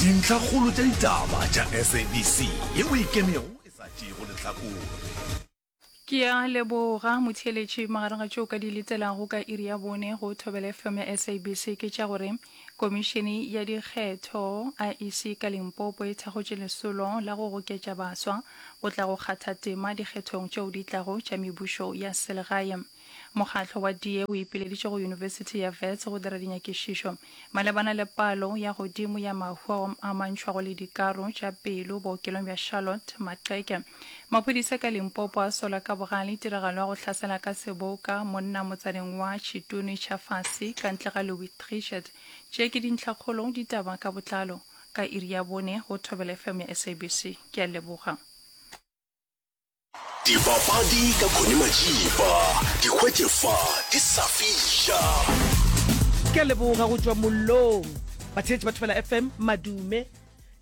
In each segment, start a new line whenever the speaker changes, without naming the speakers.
Dintlhakgolo tša ditaba tša SABC yeo e ikemego e sa tšeego lehlakore.
Ke a leboga motheeletši. Magareng ga tšeo ka di letelago ka iri ya bone go Thobela FM ya SABC ke tša gore Komišene ya Dikgetho, IEC, ka Limpopo e thakgotše lesolo la go goketša baswa go tla go kgatha tema dikgethong tšeo di tlago tša mebušo ya selegae. Mokgatlo wa DA o ipileditše go Yunibesithi ya Wits go dira dinyakišišo malebana le palo ya godimo ya mahu ao a amantšhwago le dikaro tša pelo bookelong bja Charlotte Maxeke. Maphodisa ka Limpopo a sola ka bogale tiragalo ya go hlasela ka seboka monna motsaneng wa Tshituni tsha fase ka ntle ga Louis Trichardt. Tše ke dintlhakgolo ditaba ka botlalo ka iri ya bone go Thobela FM ya SABC. Ke a leboga.
Dipapadi ka Connie Majiba, di hwetše fa di sa fiša.
Ke a leboga go tšwa mollong. Batheetši ba Thobela FM, madume.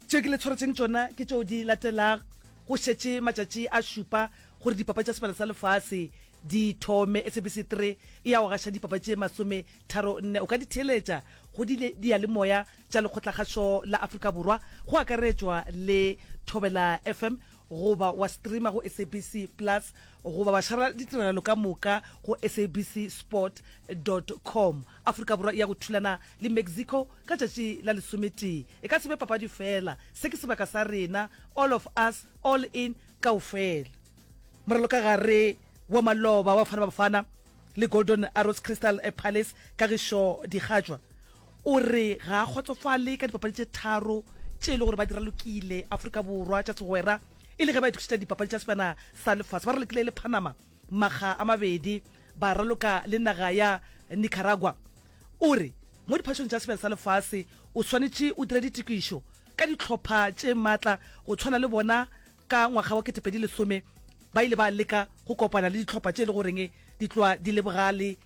Tše ke le tshwaretšeng tšona ke tšeo di latelag, Go šetše matšatši a šupa gore dipapadi tša Sebjana sa Lefase di thome. SABC 3 e ya go gaša dipapadi tše masometharonne. O ka di theeletša go diyalemoya tša Lekgotlakgašo la Afrika Borwa, go akaretšwa le Thobela FM, goba wa streama go SABC Plus goba wa šara ditiragalo ka moka go SABC Sport dot com. Afrika Borwa e ya go thulana le Mexico ka tšatši la lesometee. E ka se be papadi fela, se ke sebaka sa rena, all of us, all in, kaofela. Moralokagare wa maloba wa Bafana Bafana le Golden Arrows Crystal Palace Kagišo Dikgatšwa o re ga a kgotsofale ka dipapadi tše tharo tše e le gore ba di ralokile Afrika Borwa tša segwera e le ge ba itokišetša dipapadi tša Sebjana sa Lefase. Ba ralokile le Panama makga a mabedi, ba raloka le naga ya Nicaragua. O re mo diphašong tša Sebjana sa Lefase o swanetše o dire ditokišo ka dihlopha tše matla go tshwana le bona Ka ngwaga wa 2010 ba ile ba leka go kopana le dihlopha tše e le goreng di tloa di le bogale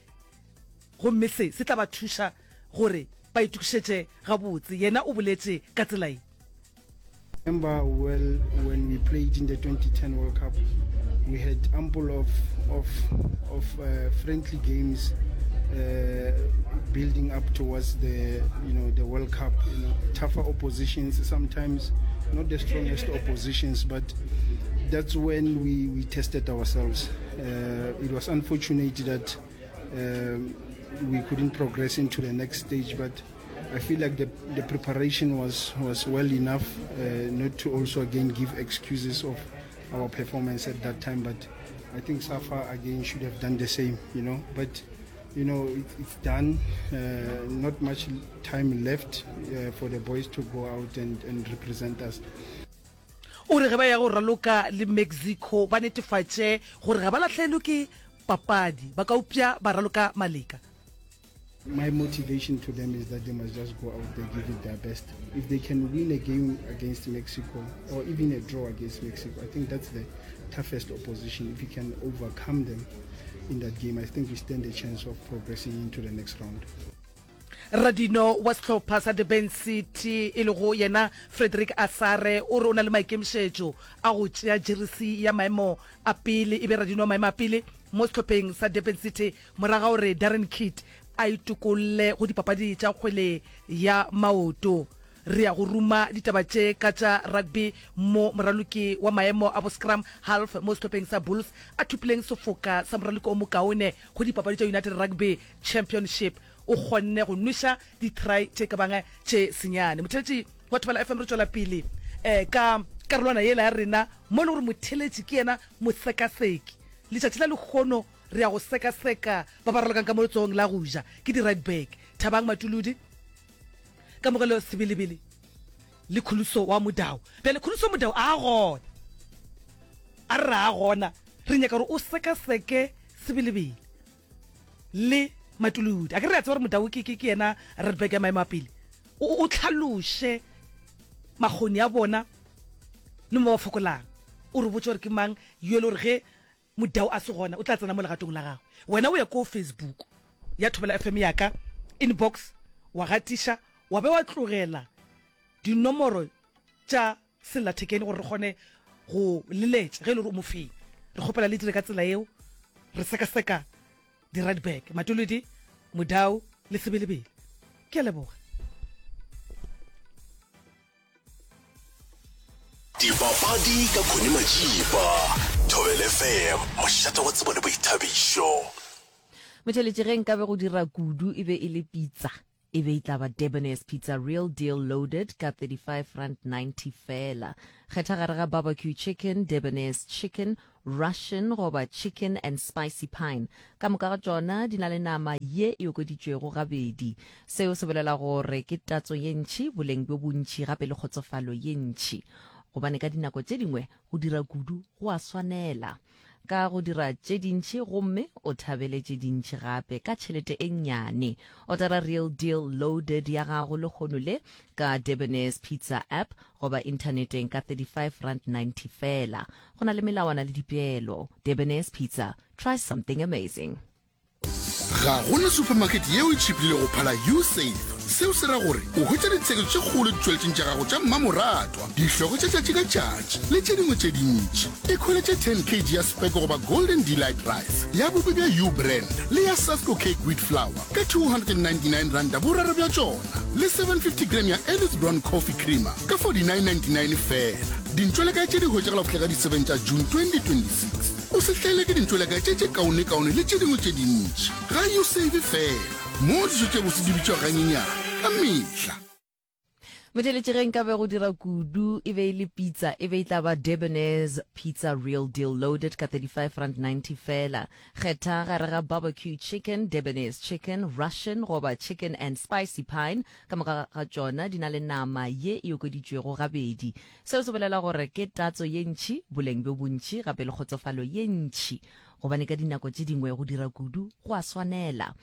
gomme se se tla ba thuša gore ba itokišetše gabotse. Yena o boletše ka tsela ye.
Remember well when we played in the 2010 World Cup, we had ample of of of uh, friendly games uh, building up towards the you know the World Cup. You know, tougher oppositions sometimes, not the strongest oppositions, but that's when we we tested ourselves. Uh, it was unfortunate that um, we couldn't progress into the next stage, but I feel like the, the preparation was, was well enough uh, not to also again give excuses of our performance at that time. But I think Safa again should have done the same, you know. But you know, it, it's done. Uh, not much time left uh, for the boys to go out and, and represent us.
O re ge ba ya go raloka le Mexico ba netefatše gore ga ba lahlelwe ke papadi, ba ka upša ba raloka maleka.
My motivation to them is that they must just go out there, give it their best. If they can win a game against Mexico or even a draw against Mexico, I think that's the toughest opposition. If you can overcome them in that game, I think we stand a chance of progressing into the next round.
Radino wa sehlopha sa Durban City e lego yena Frederick Asare o re o na le maikemišetšo a go tšea jeresi ya maemo a pele e be radino wa maemo a pele mo sehlopheng sa Durban City Morago ga gore Darren Keet a itokolle go dipapadi tša kgwele ya maoto, re ya go ruma ditaba tše ka tša rugby mo moraloki wa maemo a bo-scrum half mo sehlopheng sa Bulls a thopileng sefoka sa moraloki o mokaone go dipapadi tša United Rugby Championship. O kgonne go nweša di-try tše ka bang tše senyane. Motheeletši wa Thobela FM, re tšwela pele ka karolwana yela ya rena mo e le gore motheeletši ke yena mosekaseki. Letšatši la lehono Re ya go sekaseka ba ba ralokang ka mo letsogong la go ja ke di right back, Thabang Matuludi, Kamogelo Sebelebele le Khuluso wa Mudau. Bjale Khuluso Mudau a gona, a re ra gona, re nyaka gore o sekaseke Sebelebele le Matuludi. A ke re a tseba gore Mudau ke, ke, ke yena right back ya maemo a pele. O, o hlaloše makgoni a bona le mo ba fokolang. O re botše gore ke mang yo e le gore ge Modau a se gona, o tla tsena mo legatong la gagwe. Wena o ye ko Facebook ya Thobela FM ya ka, inbox, wa gatiša, wa be wa tlogela dinomoro tša sellathekeng gore re kgone go leletša ge e le gore o mofenyi. Re kgopela le dire ka tsela yeo, re sekaseka di-right back, Matolodi, Modau le Sebelebele. Ke a leboga.
Dipapadi ka Connie Majiba, Thobela FM, mošate wa tsebo le boithabišo.
Motheeletši ge nkabe go dira kudu e be e le pitsa, e be e tla ba Debonair's Pizza Real Deal Loaded ka R35.90 feela. Kgetha gare ga Barbecue Chicken, Debonair's Chicken, Russian goba Chicken and Spicy Pine. Ka moka ga tšona di na le nama ye e okeditšwego gabedi. Seo se bolela gore ke tatso ye ntši, boleng bjo bontši gape le kgotsofalo ye ntši. Gobane ka dinako tše dingwe go dira kudu go a swanela. Ka go dira tše dintši gomme o thabele tše dintši gape ka tšhelete e nnyane. Otara Real Deal Loaded ya gago lehono le ka Debonair's Pizza app goba inthaneteng ka R35.90 feela. Go na le melawana le dipeelo. Debonair's Pizza, try something amazing.
Ga go na supermarket yeo e tšhipilego go phala Usave. Seo se ra gore o hwetša ditsheketšo tše kgolo ditšweletšing tša gago tša mmamoratwa, dihlogo tša tšatši ka tšatši le tše dingwe tše dintši. Ikhweletše 10 kg ya Speke goba Golden Delight Rice ya bupi bja U-Brand le ya Sasko Cake Wheat Flour ka R299 boraro bja tšona le 750 gram ya Ellis Brown Coffee Creamer ka R49.99 feela. Dintšwelekae tše di hwetšagala go fihla ka di 7 tša June 2026. O se hlaelwe ke dintšwelekae tše tše kaonekaone le tše dingwe tše dintši. Ga Usave feela, moo dijo tše bose di bitšwago ganyenyane ka mehla.
Motheeletši ge nkabe go dira kudu e be e le pitsa e be e tla ba Debonair's Pizza Real Deal Loaded ka R35.90 feela. Kgetha gare ga Barbecue Chicken, Debonair's Chicken, Russian goba Chicken and Spicy Pine. Ka moka ga tšona di na le nama ye e okeditšwego gabedi. Seo se bolela gore ke tatso ye ntši, boleng bjo bontši gape le kgotsofalo ye ntši, gobane ka dinako tše dingwe go dira kudu go a swanela.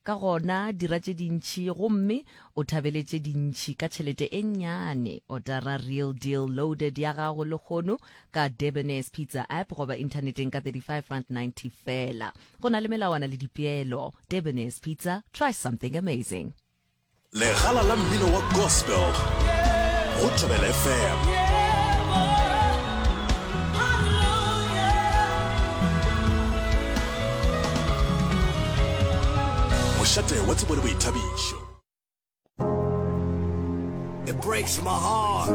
Ka gona dira tše dintši gomme o thabele tše dintši ka tšhelete e nnyane. Otara Real Deal Loaded ya gago lehono ka Debonair's Pizza app goba inthaneteng ka R35.90 feela. Go na le melawana le dipeelo. Debonair's Pizza, try something amazing.
Legala la mmino wa gospel go Thobela FM. Mošate wa tsebo le boithabišo.
It breaks my heart.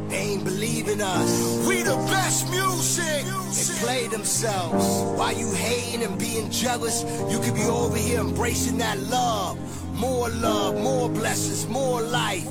They ain't believe in us. We the best music. They play themselves. While you hating and being jealous, you could be over here embracing that love. More love, more blessings, more life.